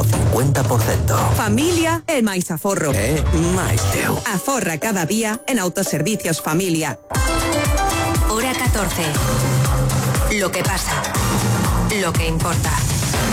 ao 50%. Familia e máis aforro. Máis teu. Aforra cada día en Autoservicios Familia. Hora 14. Lo que pasa. Lo que importa.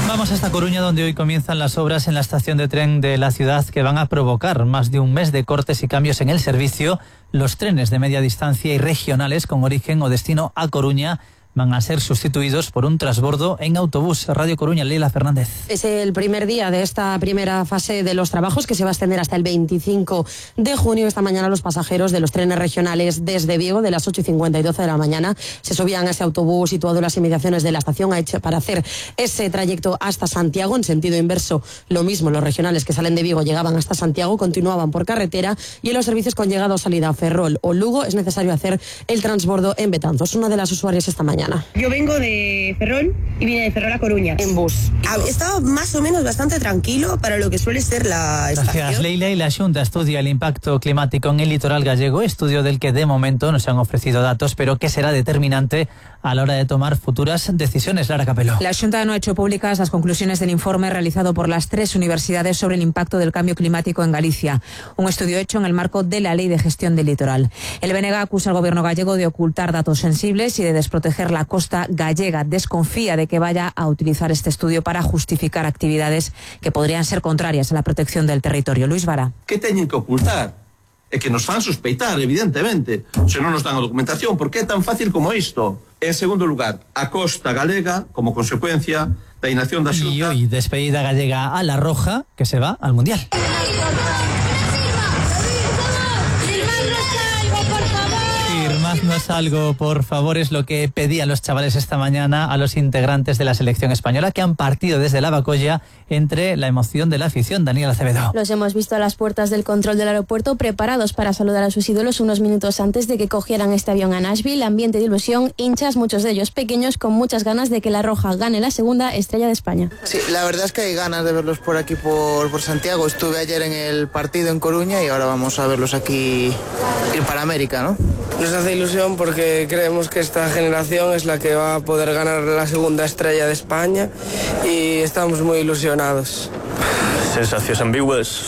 Vamos hasta Coruña, donde hoy comienzan las obras en la estación de tren de la ciudad que van a provocar más de un mes de cortes y cambios en el servicio. Los trenes de media distancia y regionales con origen o destino a Coruña van a ser sustituidos por un transbordo en autobús. Radio Coruña, Leila Fernández. Es el primer día de esta primera fase de los trabajos que se va a extender hasta el 25 de junio. Esta mañana los pasajeros de los trenes regionales desde Vigo de las 8:50 y 12 de la mañana se subían a ese autobús situado en las inmediaciones de la estación para hacer ese trayecto hasta Santiago. En sentido inverso, lo mismo, los regionales que salen de Vigo llegaban hasta Santiago, continuaban por carretera, y en los servicios con llegada o salida a Ferrol o Lugo es necesario hacer el transbordo en Betanzos. Una de las usuarias esta mañana. Yo vengo de Ferrol y vine de Ferrol a Coruña. En bus. Estaba más o menos bastante tranquilo para lo que suele ser la estación. Gracias, Leila. Y la Xunta estudia el impacto climático en el litoral gallego, estudio del que de momento no se han ofrecido datos, pero que será determinante a la hora de tomar futuras decisiones. Lara Capeló. La Xunta no ha hecho públicas las conclusiones del informe realizado por las 3 universidades sobre el impacto del cambio climático en Galicia, un estudio hecho en el marco de la Ley de Gestión del Litoral. El BNG acusa al gobierno gallego de ocultar datos sensibles y de desproteger la costa gallega. Desconfía de que vaya a utilizar este estudio para justificar actividades que podrían ser contrarias a la protección del territorio. Luis Vara. ¿Qué teñen que ocultar? É que nos fan sospeitar, evidentemente, se non nos dan a documentación, porque é tan fácil como isto. En segundo lugar, a costa galega, como consecuencia da inacción da Xunta. Y hoy despedida gallega a La Roja, que se va al Mundial. Firmadnos algo, por favor, es lo que pedían los chavales esta mañana a los integrantes de la selección española, que han partido desde la Bacolla entre la emoción de la afición. Daniel Acevedo. Los hemos visto a las puertas del control del aeropuerto, preparados para saludar a sus ídolos unos minutos antes de que cogieran este avión a Nashville. Ambiente de ilusión, hinchas, muchos de ellos pequeños, con muchas ganas de que la Roja gane la segunda estrella de España. Sí, la verdad es que hay ganas de verlos por aquí, por Santiago. Estuve ayer en el partido en Coruña y ahora vamos a verlos aquí para América, ¿no? Nos hace ilusión porque creemos que esta generación es la que va a poder ganar la segunda estrella de España y estamos muy ilusionados. Sensaciones ambiguas,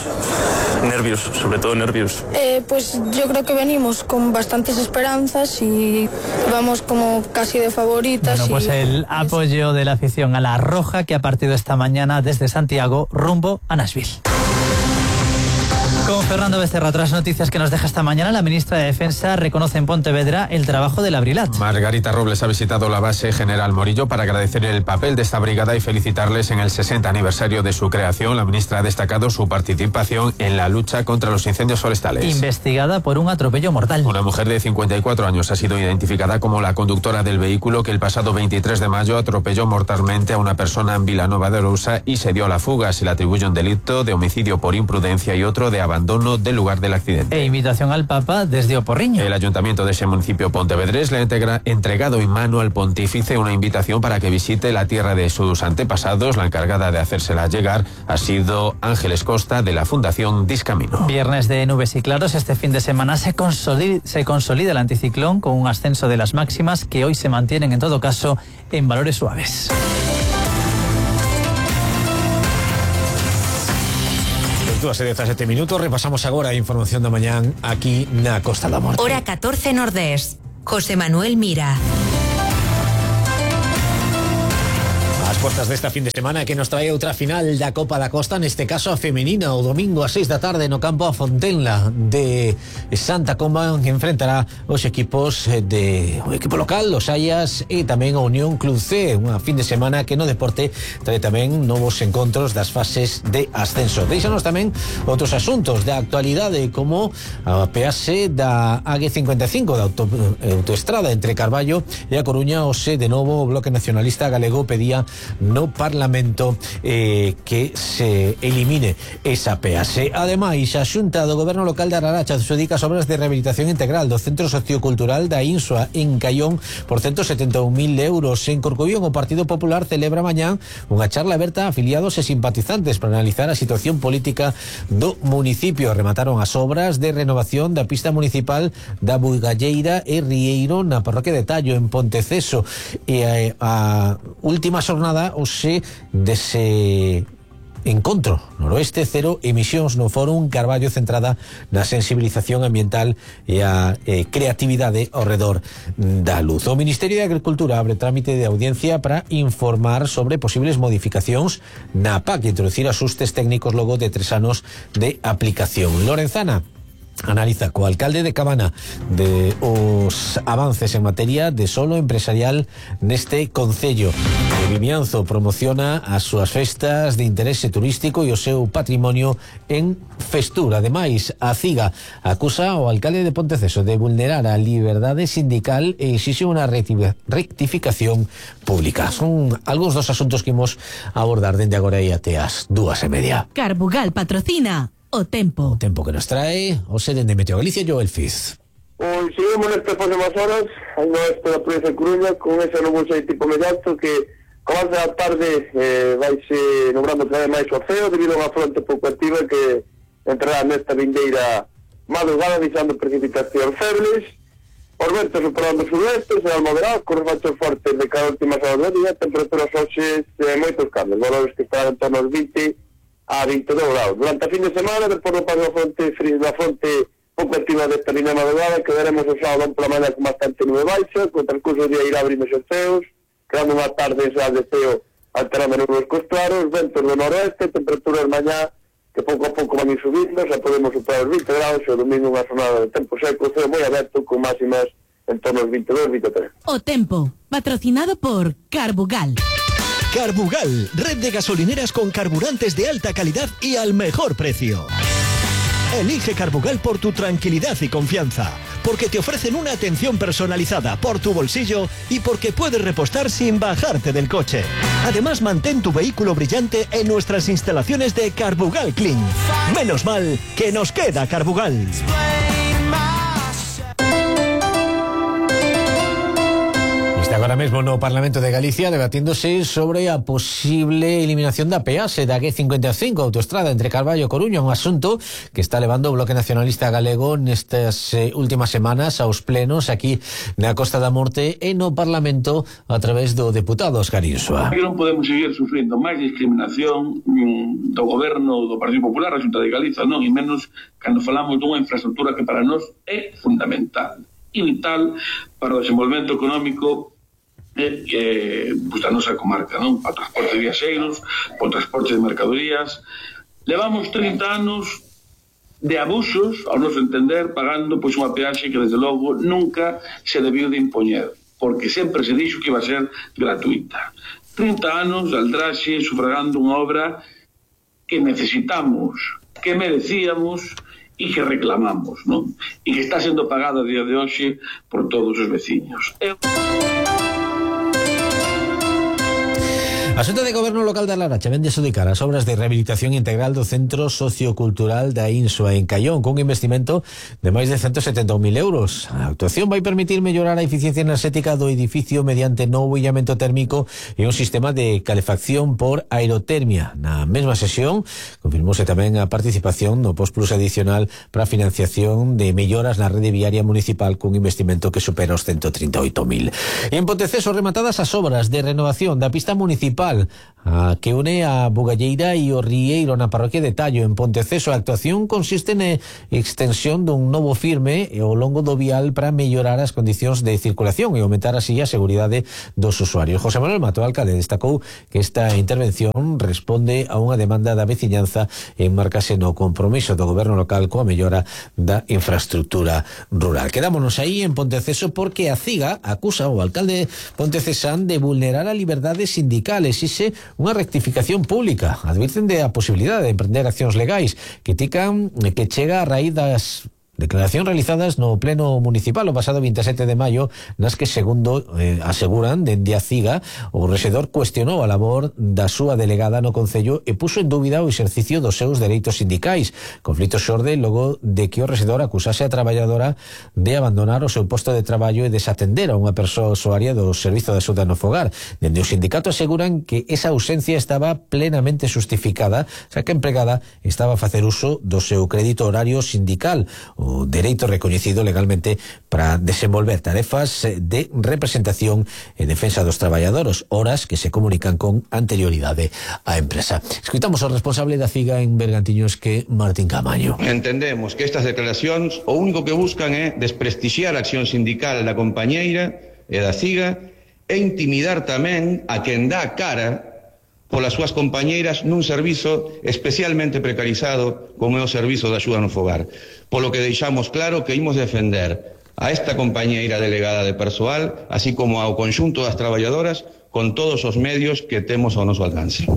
nervios, sobre todo nervios. Pues yo creo que venimos con bastantes esperanzas y vamos como casi de favoritas. Bueno, pues el apoyo de la afición a la Roja, que ha partido esta mañana desde Santiago rumbo a Nashville. Con Fernando Becerra, otras noticias que nos deja esta mañana. La ministra de Defensa reconoce en Pontevedra el trabajo del Abrilat. Margarita Robles ha visitado la base General Morillo para agradecer el papel de esta brigada y felicitarles en el 60 aniversario de su creación. La ministra ha destacado su participación en la lucha contra los incendios forestales. Investigada por un atropello mortal. Una mujer de 54 años ha sido identificada como la conductora del vehículo que el pasado 23 de mayo atropelló mortalmente a una persona en Vilanova de Arousa y se dio a la fuga. Se le atribuye un delito de homicidio por imprudencia y otro de abandono del lugar del accidente. E invitación al Papa desde Oporriño. El ayuntamiento de ese municipio pontevedrés le ha entregado en mano al pontífice una invitación para que visite la tierra de sus antepasados. La encargada de hacérsela llegar ha sido Ángeles Costa, de la Fundación Discamino. Viernes de nubes y claros. Este fin de semana se consolida el anticiclón con un ascenso de las máximas que hoy se mantienen en todo caso en valores suaves. 2:17 minutos, repasamos agora a información da mañán aquí na Costa da Morte. Hora 14 Nordés. José Manuel Mira. As portas desta fin de semana que nos trae outra final da Copa da Costa, neste caso a femenina, o domingo a 6 da tarde no campo a Fontenla de Santa Comba, que enfrentará os equipos o equipo local, os Ayas e tamén a Unión Club C. Unha fin de semana que no deporte trae tamén novos encontros das fases de ascenso. Deixanos tamén outros asuntos da actualidade, como a peaxe da AG55 da autoestrada entre Carballo e A Coruña. Ose de novo o Bloque Nacionalista Galego pedía no Parlamento que se elimine esa peaxe. Ademais, a Xunta do Goberno Local de Araracha adxudica as obras de rehabilitación integral do Centro Sociocultural da Insua en Caión por 171.000 euros. En Corcobión, o Partido Popular celebra mañán unha charla aberta a afiliados e simpatizantes para analizar a situación política do municipio. Remataron as obras de renovación da pista municipal da Buigalleira e Rieiro na parroquia de Tallo, en Ponteceso, e a última xornada hoxe dese Encontro Noroeste Cero Emisións no Fórum Carballo, centrada na sensibilización ambiental e a creatividade ao redor da luz. O Ministerio de Agricultura abre trámite de audiencia para informar sobre posibles modificacións na PAC e introducir axustes técnicos logo de 3 anos de aplicación. Lorenzana analiza co alcalde de Cabana de os avances en materia de solo empresarial neste concello. Vimianzo promociona as súas festas de interese turístico e o seu patrimonio en Festura. Ademais, a CIGA acusa ao alcalde de Ponteceso de vulnerar a liberdade sindical e exixe unha rectificación pública. Son algúns dos asuntos que imos abordar dende agora e até as 2:30. Carbugal patrocina O Tempo. O tempo que nos trae o sede de Meteo Galicia, Joel Fiz. Hoy seguimos nestas próximas horas ao noreste da provincia de Coruña con esa nubosa de tipo medio alto que con avance da tarde vaise nombrando cada vez máis o ceo debido a unha fronte pouco activa que entrará nesta vindeira madrugada deixando precipitacións febles. Os ventos superando o suroeste serán moderados con refachos fortes de cada última hora do día, temperaturas hoxe moitos cambios, valores que estarán en torno aos 20 a 22 graus. Durante a fin de semana, despois do paso da fronte pouco activa desta línea madrugada, quedaremos o sábado pola mañá con bastante nube baixa, con transcurso do día irá abrindo os ceos, creando unha tarde xa de ceo alterando nubes cos claros, ventos do noroeste, temperaturas mañá que pouco a pouco van ir subindo, xa podemos superar os 20 graus, e o domingo unha jornada de tempo seco, ceo moi aberto, con máximas en torno aos 22-23. O Tempo, patrocinado por Carbugal. Carbugal, red de gasolineras con carburantes de alta calidad y al mejor precio. Elige Carbugal por tu tranquilidad y confianza, porque te ofrecen una atención personalizada por tu bolsillo y porque puedes repostar sin bajarte del coche. Además, mantén tu vehículo brillante en nuestras instalaciones de Carbugal Clean. Menos mal que nos queda Carbugal. Agora mesmo no Parlamento de Galicia debatíndose sobre a posible eliminación da peaxe da G55 autoestrada entre Carballo e Coruña, un asunto que está levando o Bloque Nacionalista Galego nestas últimas semanas aos plenos aquí na Costa da Morte e no Parlamento a través do deputado Óscar Insua. Que non podemos seguir sufrindo máis discriminación do goberno do Partido Popular, a Xunta de Galiza, non, e menos cando falamos dunha infraestructura que para nós é fundamental e vital para o desenvolvemento económico da nosa comarca, non? Para o transporte de viaxeiros, para o transporte de mercadorías. Levamos 30 anos de abusos, ao noso entender, pagando pois unha peaxe que desde logo nunca se debiu de impoñer, porque sempre se dixo que iba a ser gratuita. 30 anos de aldraxe sufragando unha obra que necesitamos, que merecíamos e que reclamamos, non? E que está sendo pagada a día de hoxe por todos os veciños. A Xunta de Goberno Local da Laracha vende adxudicar as obras de rehabilitación integral do Centro Sociocultural da Insua en Caión, cun investimento de máis de 170.000 euros. A actuación vai permitir mellorar a eficiencia enerxética do edificio mediante novo illamento térmico e un sistema de calefacción por aerotermia. Na mesma sesión confirmouse tamén a participación no Postplus adicional para a financiación de melloras na rede viaria municipal cun investimento que supera os 138.000. E en Ponteceso rematadas as obras de renovación da pista municipal que une a Bugalleira e o Rieiro na parroquia de Tallo en Ponteceso. A actuación consiste na extensión dun novo firme ao longo do vial para mellorar as condicións de circulación e aumentar así a seguridade dos usuarios. José Manuel Mato, alcalde, destacou que esta intervención responde a unha demanda da veciñanza e enmarcase no compromiso do goberno local coa mellora da infraestructura rural. Quedámonos aí en Ponteceso porque a CIGA acusa ao alcalde pontecesán de vulnerar a liberdade sindical. Exixe unha rectificación pública. Advirten de a posibilidade de emprender accións legais que chega a raíz das declaracións realizadas no pleno municipal o pasado 27 de maio, nas que, segundo aseguran dende a CIGA, o rexedor cuestionou a labor da súa delegada no Concello e puxo en dúbida o exercicio dos seus dereitos sindicais. Conflito xorde logo de que o rexedor acusase a traballadora de abandonar o seu posto de traballo e desatender a unha persoa usuaria do Servizo de Axuda no Fogar. Dende o sindicato aseguran que esa ausencia estaba plenamente justificada, xa que a empregada estaba a facer uso do seu crédito horario sindical. O o dereito recoñecido legalmente para desenvolver tarefas de representación e defensa dos traballadores, horas que se comunican con anterioridade á empresa. Escuitamos ao responsable da CIGA en Bergantiños, que Martín Camaño. Entendemos que estas declaracións o único que buscan é desprestixiar a acción sindical da compañeira e da CIGA e intimidar tamén a quen dá a cara polas súas compañeiras nun servizo especialmente precarizado como é o servizo de axuda no fogar. Polo que deixamos claro que imos defender a esta compañeira delegada de persoal, así como ao conxunto das traballadoras, con todos os medios que temos ao noso alcance.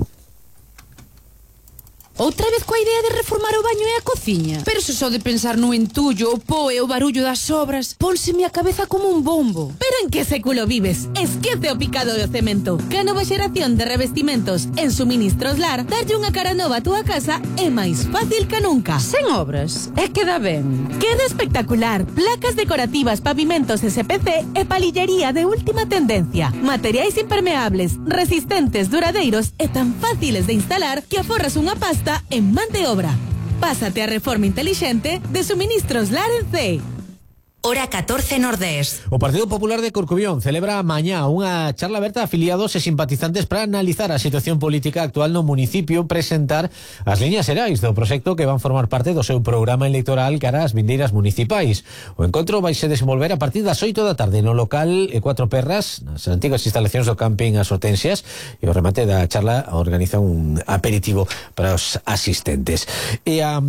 Outra vez coa idea de reformar o baño e a cociña? Pero se só de pensar no entullo, o po e o barullo das obras, pónseme a cabeza como un bombo. Pero en que século vives? Esquece o picado do cemento. Que a nova xeración de revestimentos en Suministros Lar darlle unha cara nova a túa casa é máis fácil que nunca. Sen obras, é que dá ben. Queda espectacular. Placas decorativas, pavimentos SPC e palillería de última tendencia. Materiais impermeables, resistentes, duradeiros e tan fáciles de instalar que aforras unha pasta en man de obra. Pásate a reforma intelixente de Suministros Lar en C. Hora 14 Nordés. O Partido Popular de Corcubión celebra mañá unha charla aberta a afiliados e simpatizantes para analizar a situación política actual no municipio, presentar as liñas xerais do proxecto que van formar parte do seu programa electoral cara ás vindeiras municipais. O encontro vai se desenvolver a partir das 8 da tarde no local Cuatro Perras, nas antigas instalacións do camping As Hortensias, e o remate da charla organiza un aperitivo para os asistentes. E a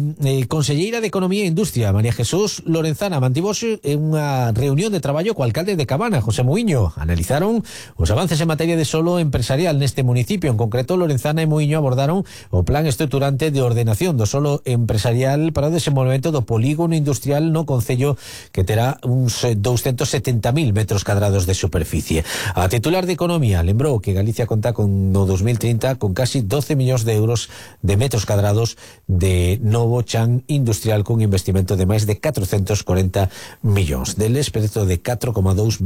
conselleira de Economía e Industria, María Jesús Lorenzana, mantivose en unha reunión de traballo co alcalde de Cabana, José Muiño. Analizaron os avances en materia de solo empresarial neste municipio. En concreto, Lorenzana e Muiño abordaron o plan estruturante de ordenación do solo empresarial para o desenvolvemento do polígono industrial no concello, que terá uns 270.000 metros cadrados de superficie. A titular de Economía lembrou que Galicia conta con no 2030 con casi 12 millóns de euros de metros cadrados de novo chan industrial cun investimento de máis de 440 millóns. Deles, preto de 4,2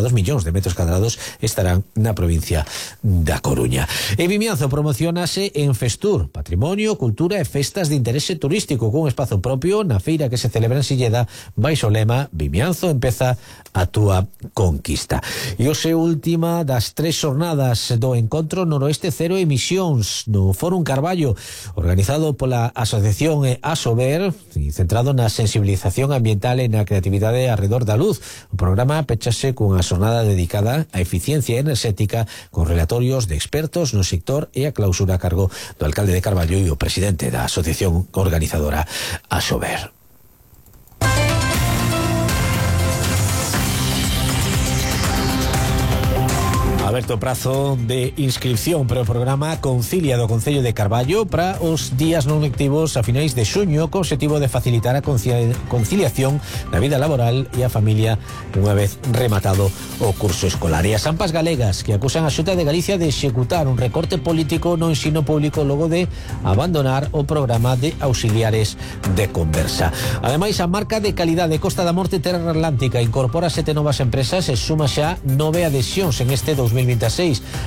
millóns de metros cadrados estarán na provincia da Coruña. E Vimianzo promocionase en Festur, Patrimonio, Cultura e Festas de Interese Turístico, cun espazo propio na feira que se celebra en Silleda, baixo o lema Vimianzo empeza a túa conquista. E hoxe última das 3 xornadas do Encontro Noroeste Cero Emisións no Fórum Carballo, organizado pola Asociación Asober, centrado na sensibilización ambiental e na creatividade arredor da luz. O programa pechase cunha xornada dedicada á eficiencia enerxética con relatorios de expertos no sector e a clausura a cargo do alcalde de Carballo e o presidente da asociación organizadora Asober. Aberto o prazo de inscripción para o programa Concilia do Concello de Carballo para os días non lectivos a finais de xuño, co obxectivo de facilitar a conciliación da vida laboral e a familia unha vez rematado o curso escolar. E as AMPAs galegas que acusan a Xunta de Galicia de executar un recorte político no ensino público logo de abandonar o programa de auxiliares de conversa. Ademais, a marca de calidade Costa da Morte Terra Atlántica incorpora 7 novas empresas e suma xa 9 adhesións en este 2026.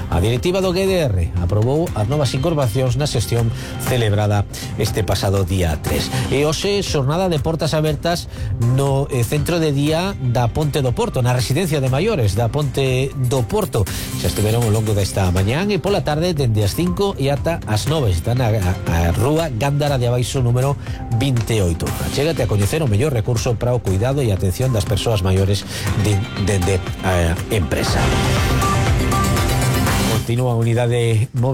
A directiva do GDR aprobou as novas incorporacións na sesión celebrada este pasado día 3. E hoxe xornada de portas abertas no centro de día da Ponte do Porto, na residencia de maiores da Ponte do Porto. Xa estiveron ao longo desta mañán e pola tarde dende as 5 e ata as 9. Están a rúa Gándara de Abaixo número 28. Chégate a coñecer o mellor recurso para o cuidado e atención das persoas maiores dende a empresa. Continúa a unidade móvil